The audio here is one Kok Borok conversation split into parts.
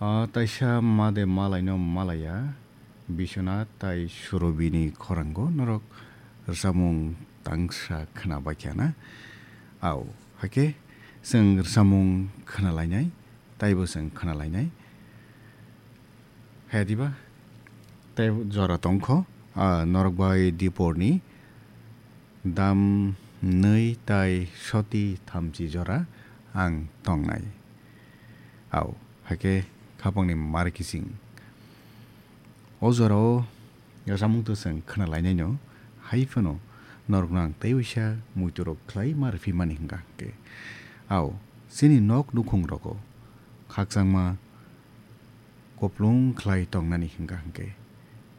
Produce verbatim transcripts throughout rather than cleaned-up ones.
Ah, taisa made malaino malaya, Biswanath tai Surobini khorango norok rwchapmung tangsa khwnabaikha na? Au, hakhe chwng rwchapmung khwnalainai, taibo chwng khwnalainai. Haya diba? Tai jora tongkho, ah, norok bai diporni dam nwi tai soti thamchi jora ang tongnai. Au, hakhe khapangni mar kising. O jorao rwchapmung to chwng khwnalainaino, hai phano norokno ang tei uisa muiturok khlai ma rwphimani hwnkha hwnkhe. Au, chini nok nukhung rogo khakchangma koplung khlai tongnani hwnkha hwnkhe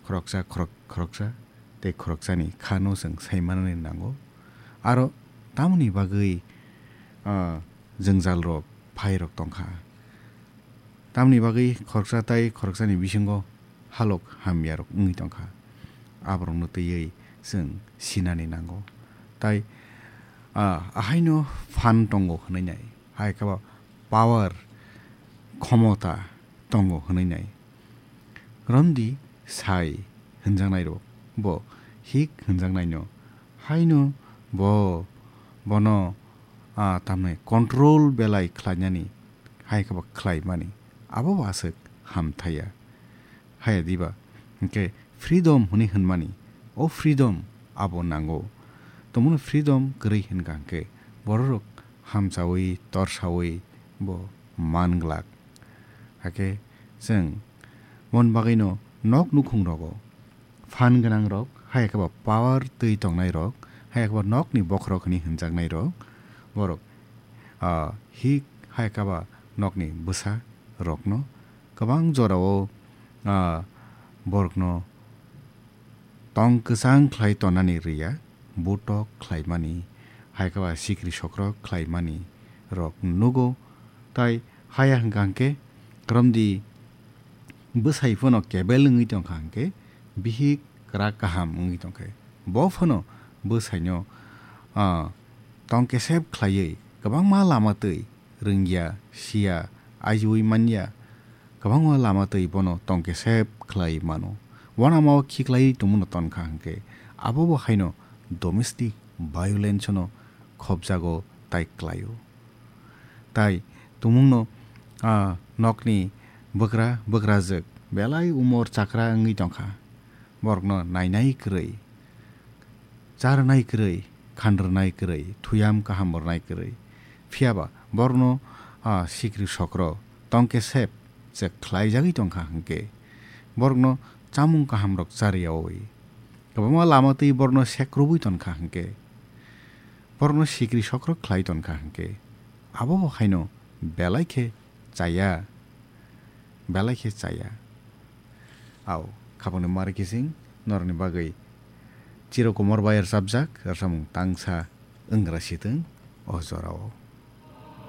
khoroksa khorok-, khoroksa tei khoroksani khano chwng saimanani nango. Aro tamoni bagwi, ah, jwngjalrok phairok tongkha. Tamoni bagwi khoroksa tai khoroksani bisingo halok hamyarok wngwi tongkha. Aborokno twiwi chwng sinani nango. Tai, ah, ahaino phan tongo hwnwi nai. Hai khe bo power, khomota tongo hwnwi nai. Romdi sai hwnjaknairok bo hik hwnjaknaino. Haino bo, bono, ah, tamni control belai khlainani, hai khe bo khlaimani. Abo bo aswk hamthaiya. Haya diba? Hwnkhe freedom hwnwi hwnmani, o freedom abo nango. Tongmano freedom kwrwi hwnkha hwnkhe bororok hamchaui, torsaui bo man glak. Hakhe chwng mon bagwino nok nukhung rogo phan gwnang rok, hai khe ba power twi tongnai rok, hai khe ba nokni bokhorok hwnwi hwnjaknai rok, borok, ah, hik hai khe ba nokni bwsa rokno kwbang jorao, ah, borokno tong kwchang khlai tonani rwya, butok khlaimani, hai khe ba sikri sokrok khlaimani rok nugo. Tai haya hwnkha hwnkhe, romdi bwsai phano kebel wngwi tongkha hwnkhe, bihik kwrak kaham wngwi tongkhe, bo phano bwsaino, ah, tong kesep khlaiwi kwbangma lama twi rwngya, siya, ajiui manya, kwbangma lama twi bono tong kesep khlai mano. Uanama o khiklai tongmano tonkha hwnkhe, abo bo haino domestic violence no khopjago tai klaio. Tai tumungno, ah, nokni bwkra, bwkrajwk belai umor chakra wngwi tongkha. Borokno nainai kwrwi, charwnai kwrwi, khanrwnai kwrwi, thuyam kaham rwnai kwrwi. Phiyaba borokno, ah, sikri sokro tongkesep se khlaijagwi tongkha hwnkhe, borokno chamung kahamrok chariyaui, kwbangma lama twi borokno sekrubui tonkha hwnkhe, borokno sikri sokro khlai tonkha hwnkhe, abo bo haino belai khe chaya, belai khe chaya. Au, khapangni mari kising norokni bagwi Chiro Kumar bai rwchapjak rwchapmung tangsa wngra sitwng o jorao.